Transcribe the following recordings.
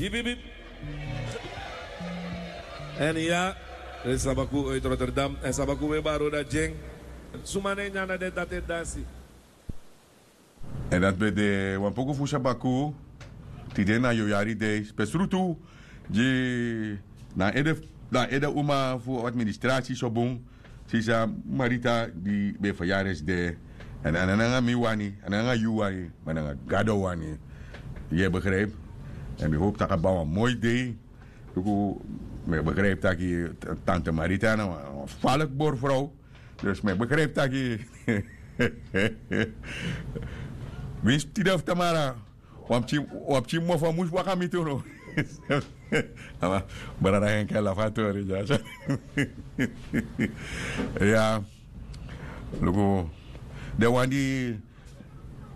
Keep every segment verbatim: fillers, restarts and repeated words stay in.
Bip, bip, bip. Èn ya, den sabaku uit Rotterdam. Èn sabaku we baro dati gi en. Suma na ini anda den dati e dansi. Èn dati ben de wan poku fu sabaku. Tide na yu yari dei spesrutu gi na ede, na ede uma fu administrasi so bun. Sisa Marita di ben e fayari esde. Èn a no nanga mi wani, a no nanga yu wani, ma nanga Gado wani. Yu e begrijp? Èn mi hopi tak' a ben wan moi dei. Luku, mi e begrijp tak' tante Marita na wan falek borfrow. Dus mi e begrijp tak' winsi tide fu tamara wan pikin, wan pikin mofo mus waka miti unu. Ama brada Henke lafu a tori dya. Ya. Luku, den wan di,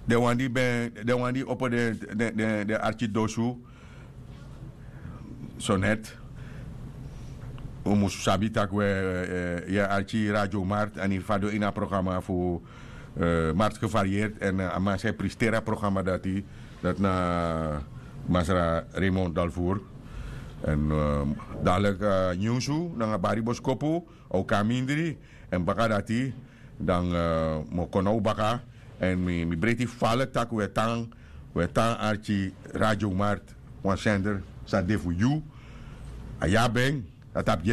den wan di ben, den wan di opo den, den, den, den arki dosu so net. Un mus sabi tak' we, eh, yu e arki Radio Mart, èn yu fadon ini a programa fu, eh, Mart Gevarieerd. Èn, eh, a man san e presteri a programa dati, dati na masra Raymond Dalvoer. Èn, eh, dadilik, eh, nyunsu nanga bari boskopu, a o kon na mindri. Èn baka dati, dan, eh, mi o kon na un baka. Èn mi, mi breiti falek tak' we tan, we tan arki Radio Mart, wan sender san de fu yu. A ya ben, a tapu